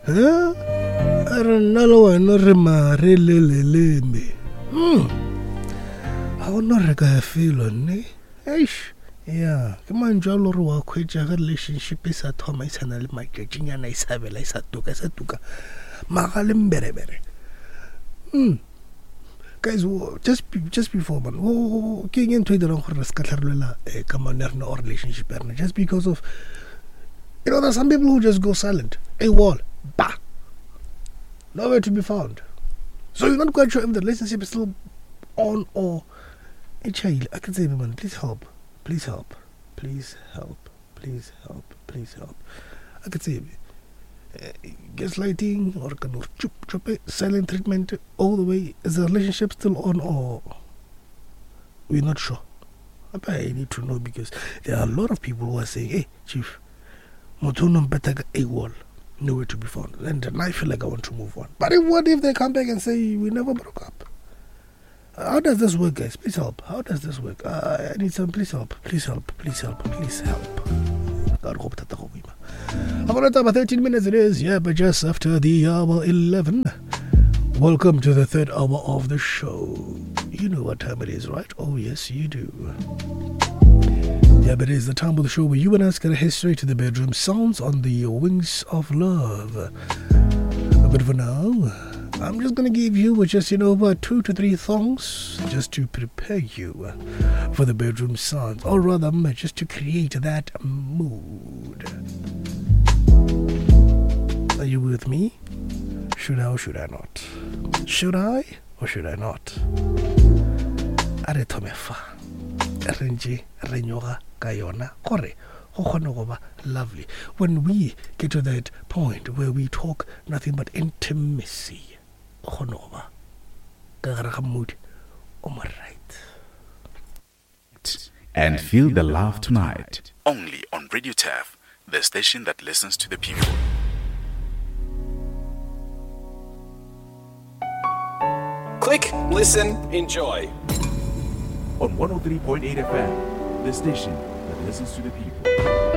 Eh? A re nna le wena re mare le leleme. Ga go no re ka ya felo nne. Eish. Ya, ke mantšu a le gore wa khwetša ge relationship e sa thoma e sa na le matšatšinyana e sa bela e sa tuka e sa tuka maga le mberebere. Guys, just before man, ke eng e ntho e dirang gore re se ka tlharolela eh, kamano ya rena or relationship ya rena just because of you know there's some people who just go silent, a wall, bah, nowhere to be found. So you're not quite sure if the relationship is still on or e tšhaile. A ke tsebe man, please help, please help, please help, please help, please help. A ke tsebe. Gaslighting or ka no chup chup silent treatment all the way. Is the relationship still on or we're not sure? I need to know because there are a lot of people who are saying, hey, chief, motho o no mpetha ka AWOL, nowhere to be found. And then I feel like I want to move on. But what if they come back and say we never broke up? How does this work, guys? Please help. How does this work? I need some. Please help. Please help. Please help. Please help. God, hope that the whole week. I'm gonna talk about 13 minutes. It is, yeah, but just after the hour 11. Welcome to the third hour of the show. You know what time it is, right? Oh, yes, you do. Yeah, but it is the time of the show where you and us gonna head straight to the bedroom. Sounds on the wings of love. But for now, I'm just gonna give you just, you know, about 2 to 3 songs just to prepare you for the bedroom sounds, or rather, just to create that mood. Are you with me? Should I or should I not? Should I or should I not? A re thome fa. Re ntše re nyoga ka yona gore go kgone go ba lovely. When we get to that point where we talk nothing but intimacy, go kgone go ba ka gare ga mood o mo right. And feel the love tonight. Only on Radio Turf, the station that listens to the people. Click, listen, enjoy. On 103.8 FM, the station that listens to the people.